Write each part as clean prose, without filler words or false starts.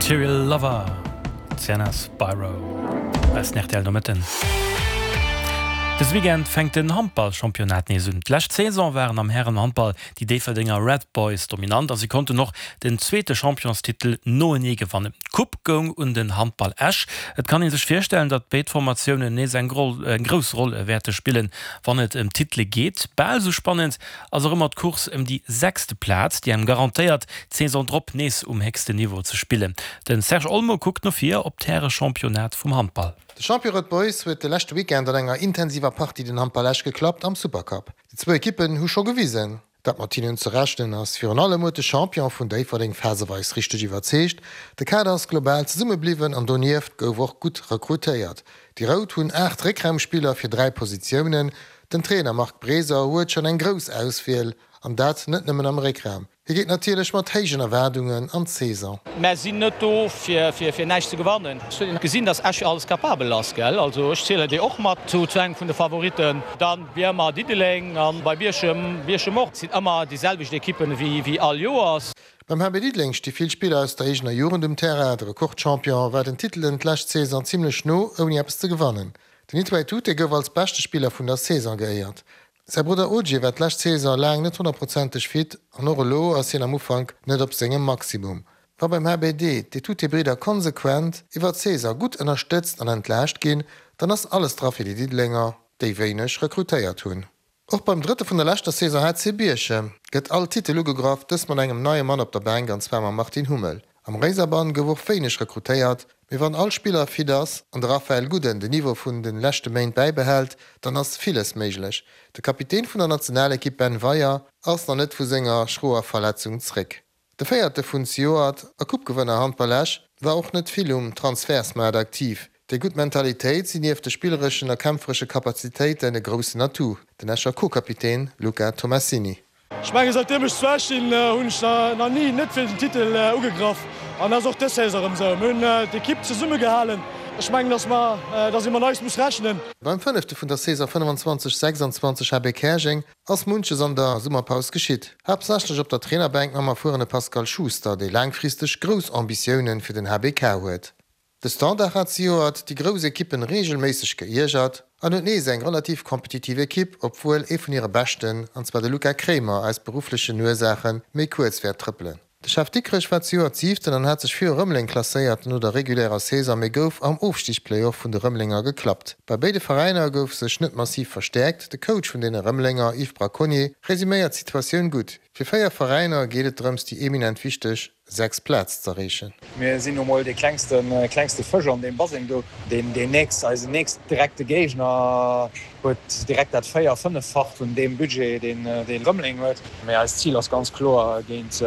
Material Lover, Sienna Spiro, eisen rtl Nomëtten. Dëse Weekend fänkt den Handball-Championnat nees un. D'lescht Saison waren am Hären-Handball déi Déifferdenger Red Boys dominant a si konnten och den zweete Championstitel noenee gewannen. D'Coupe goung un den Handball Esch. Et kann ee sech virstellen, datt béid Formatiounen nees eng grouss Roll wäerte spillen, wann et ëm d'Titele geet. Bal esou spannend ass och ëmmer d'Course ëm déi sechste Plaz, déi engem garantéiert, d'Saison drop nees um héchsten Niveau ze spillen. De Serge Olmo kuckt no vir op d'Härechampionnat vum Handball. De Champion Red Boys huet de leschte Weekend an enger intensiver Partie den Handball Esch geklappt am Supercup. Déi zwou Ekippen hu scho gewisen, dat mat hinnen ze rechnen ass. Virun allem huet de Champion vun Déifferdeng phaseweis richteg iwwerzeegt. De Kader ass global zesumme bliwwen an donieft gouf och gutt rekrutéiert. Déi Rout hunn 8 Réckraumspiller fir 3 Positiounen. Den Trainer Marc Breser huet schonn eng grouss Auswiel, an dat net nëmmen am Réckraum. Hie geet natierlech mat héijen Erwaardungen an d'Saison. Mär sinn net do fir näischt ze gewannen. Ech hunn gesinn, dass Esch alles capabel ass, gell. Also ech zielen déi och mat zu engem vun de Favoritten. Dann wéi ëmmer Diddeleng an bei Bierchem, Bierchem och. Et sinn ëmmer déi selwecht Ekippen wéi all Joers. Beim HB Diddeleng sti vill Spiller aus der eegener Jugend um Terrain. De Rekordchampion war den Titelen d'lescht Saison zimlech no, ouni eppes ze gewannen. Den Itway Tute gouf als beschte Spiller vun der Saison geéiert. Säi Brudder Ogie war d'lescht Saison laang net honnertprozenteg fit an och elo ass hien am Ufank net op sengem Maximum. Wa beim HBD d'Etute-Bridder konsequent iwwer d'Saison gutt ënnerstëtzt an entlaascht ginn, dann ass alles dra fir déi Diddelenger, déi wéineg rekrutéiert hunn. Och beim Drëtte vun der leschter Saison HC Bierchem gëtt all Titel ugegraff, dëst mat engem neie Mann op der Bänk an zwar mam Martin Hummel. Am Réiserbann gouf och wéineg rekrutéiert, mee wann all Spiller fit ass an de Raphael Guden den Niveau vun den leschte Méint bäibehält, dann ass villes méiglech. De Kapitän vun der Nationalekipp Ben Weyer ass nach net vu senger schroer Verletzung zréck. De Véierte vun zejoert a Coupe-Gewënner Handball Esch war och net vill um Transfertsmaart aktiv. Déi gutt Mentalitéit sinn nieft de spillereschen a kämpferesche Kapazitéiten e groussen Atout, den Escher Co-Kapitän Luca Tomassini. Ech mengen säitdeem ech zu Esch sinn, hunn ech nach ni net fir den Titel ugegraff an dat ass och dës Saison erëm esou. Mir hunn d'Ekipp zesumme gehalen. Ech mengen, dass mer, dass ee mat eis muss rechnen. Beim fënnefte vun der Saison 25, 26 HB Käerjeng ass munches an der Summerpaus geschitt. Haaptsächlech op der Trainerbänk mam erfuerene Pascal Schuster, dee laangfristeg grouss Ambitioune fir den HBK huet. De Standard hat zejoert déi grouss Ekippen reegelméisseg geiergert an huet nees eng relativ kompetitiv Ekipp, obwuel ee vun hire Beschten, an zwar de Luca Kremer, aus berufflechen Ursaache méi kuerz wäert trëppelen. De Chef Dikrech war zejoert Sieften an hat sech viru Rëmeleng klasséiert no der regulärer Saison, mee gouf am Ofstigsplayoff vun de Rëmelenger geklappt. Bei béide Veräiner gouf sech net massiv verstäerkt. De Coach vun deene Rëmelenger, Yves Braconnier, resuméiert d'Situatioun gutt, Fir 4 Veräiner geet et drëms déi eminent wichteg 6 Plaz z'erreechen. Mir sinn nu mol dee klengste, klengste Fësch an deem Baseng do. Deen, deen nächst, eisen nächst direkte Géigner huet direkt dat véier-, fënneffacht vun deem Budget, deen, deen Rëmeleng huet. Mee eist Zil ass ganz kloer, géint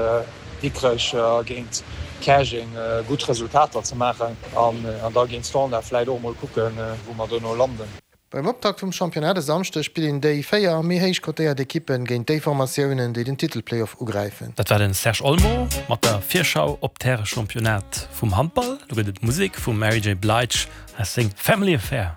Dikrech a géint Käerjeng gutt Resultater ze maachen an da géint Standard vläit och emol kucken, wou mer dono landen. Beim Optakt vum Championnat e Samschdeg spillen déi 4 méi héich kotéiert Ekippe géint déi Formatiounen, déi den Titel-Playoff ugräifen. Dat war den Serge Olmo mat der Virschau op d'Härechampionnat vum Handball. Lo gëtt et Musek vum Mary J. Blige aus seng Family Affair.